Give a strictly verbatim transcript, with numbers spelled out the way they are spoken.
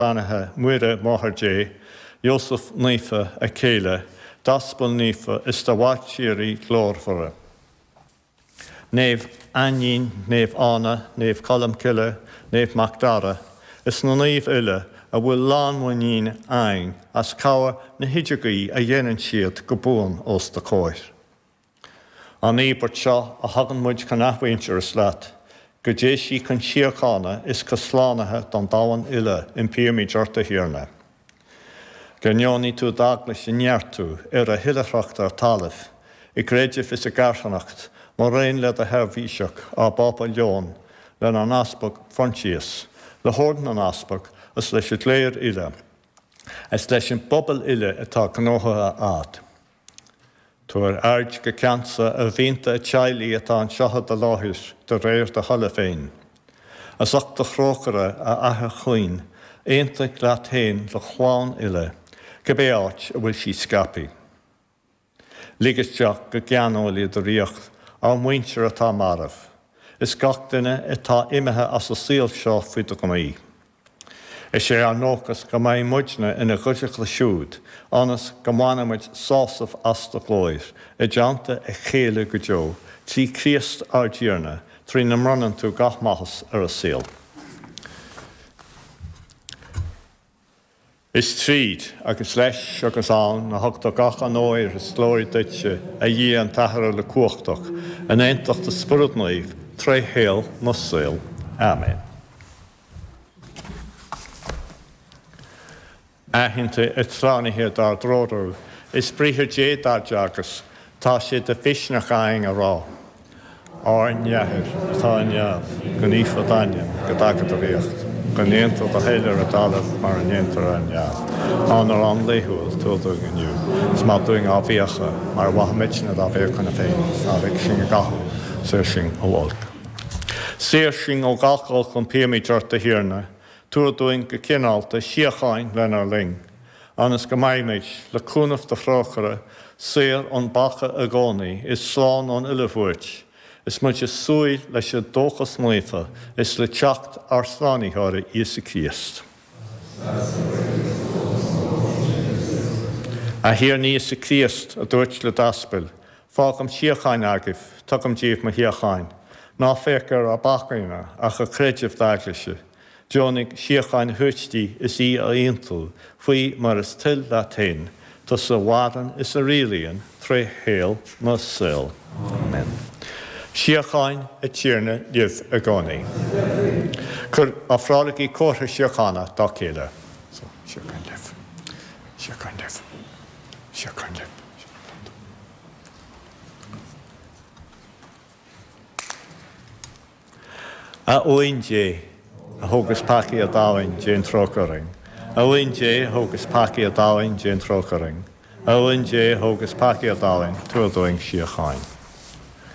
Beannaithe, Muire, Máthair Dé, Iósaf Naofa, a céile, d'Aspail Naofa is do mhairtírí glórmhara. Naomh Ainnín, Naomh Áine, Naomh Colm Cille, Naomh Mac Dara, is na naoimh uile a bhfuil lánmhuinín againn as cabhair na hidirghuí a dhéanann siad go buan os do chomhair. An íobairt seo a thugann muid chun athmhuintearas leat, go dté sí chun síochána is chun slánaithe don domhan uile, impímid ort, a Thiarna. Go ndeonaí tú d'Eaglais a neartú ar a hoilithreacht ar talamh, i gcreideamh is i gcarthanacht, mar aon le do sheirbhíseach, ár bPápa Leon, lenár nEaspag Proinsias, le hOrd na nEaspag is leis an gcléir uile, is leis an bpobal uile atá gnóthaithe agat. Tabhair aird go ceansa ar mhianta an teaghlaigh atá anseo i do láthair de réir do thola féin. As ucht do thrócaire, a Athair chaoin, aontaigh leat féin do chlann uile, cibé áit a bhfuil sí scaipthe. Lig isteach go geanúil i do ríocht ár muintir atá marbh, is gach duine atá imithe as an saol seo faoi do ghnaoi. Is é ár ndóchas go mbeidh muidne ina gcuideachta siúd, ionas go mbainfimid sásamh as do ghlóir, i dteannta a chéile go deo, trí Chríost ár dTiarna, trína mbronnann tú gach maitheas ar an saol. Is tríd, agus leis, agus ann, a thugtar gach onóir is glóir duitse, a Dhia an tAthair uilechumhachtach, in aontacht an Spioraid Naoimh, tré shaol na saol. Amen. Aitheanta an tSlánaithe dár dtreorú, is Briathar Dé dár dteagasc, tá sé de mhisneach againn a rá, Ár nAthair atá i neamh, go naofa d'ainm, go dtaga do ríocht, go ndéantar do thoil ar an dtalamh mar a ndéantar ar neamh. Ár n-arán laethúil, tabhair dúinn inniu, is maith dúinn ár bhfiacha, mar a mhaithimidne dár bhfiacha féin, is ná lig sinn i gcathú, saor sinn ó olc. Saor sinn ó gach olc, impímid ort, a Thiarna, Tabhair dúinn go cineálta síocháin lenár linn, ionas go mbeimid, le cúnamh do thrócaire, saor ón bpeaca i gcónaí is slán ón uile bhuairt, is muid ag súil leis an dóchas naofa is le teacht ár Slánaitheora Íosa Críost. A Thiarna Íosa Críost, a dúirt le d'aspail, Fágaim síocháin agaibh, tugaim díbh mo shíocháin. Ná féach ar ár bpeacaí-ne, ach ar chreideamh d'Eaglaise. Deonaigh síocháin a thabhairt di is í a aontú, faoi mar is toil leat féin, tusa a mhaireann is a rialaíonn tré shaol na saol. Amen. Síocháin an Tiarna libh i gcónaí. Cuir, ofrálaigí comhartha síochána dá chéile. So, síocháin libh. Síocháin libh. Síocháin libh. A Uain Dé, a thógas peacaí an domhain, déan trócaire orainn. A Uain Dé, a thógas peacaí an domhain, déan trócaire orainn. A Uain Dé, a thógas peacaí an domhain, tabhair dúinn síocháin.